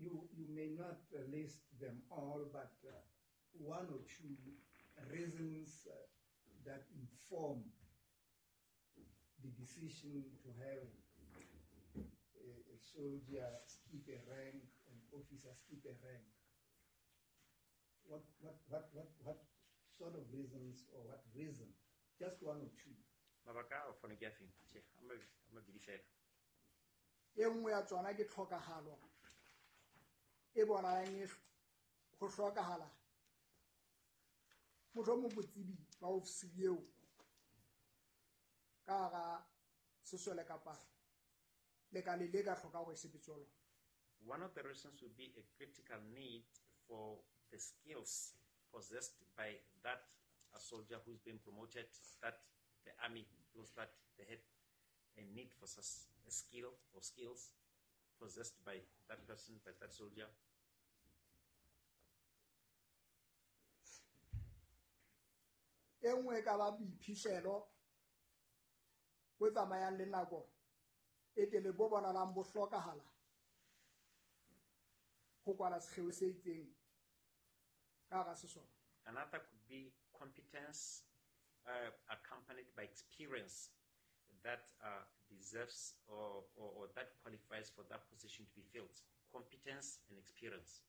You may not list them all, but one or two reasons that inform the decision to have a soldier skip a rank, an officer skip a rank. What sort of reasons or what reason? Just one or two. Mabaka a fana ke a feng? Tjhe, a mabedi fela. E nngwe ya tsona ke tlhokahalo e bonalang e ho hlokahala mohlomong botsebi ba ofisiri eo ka hara sesole kapa lekale le ka hloka hore e sebetse ho lona. One of the reasons would be a critical need for the skills possessed by that a soldier who's been promoted, that the army feels that they had a need for such a skill or skills possessed by that person, by that soldier. E nngwe e ka ba boiphihlelo bo tsamayang le nako e telele bo bonalang bo hlokahala ho kwala sekgeo se itseng ka hara sesole. Another could be competence accompanied by experience that deserves or that qualifies for that position to be filled. Competence and experience.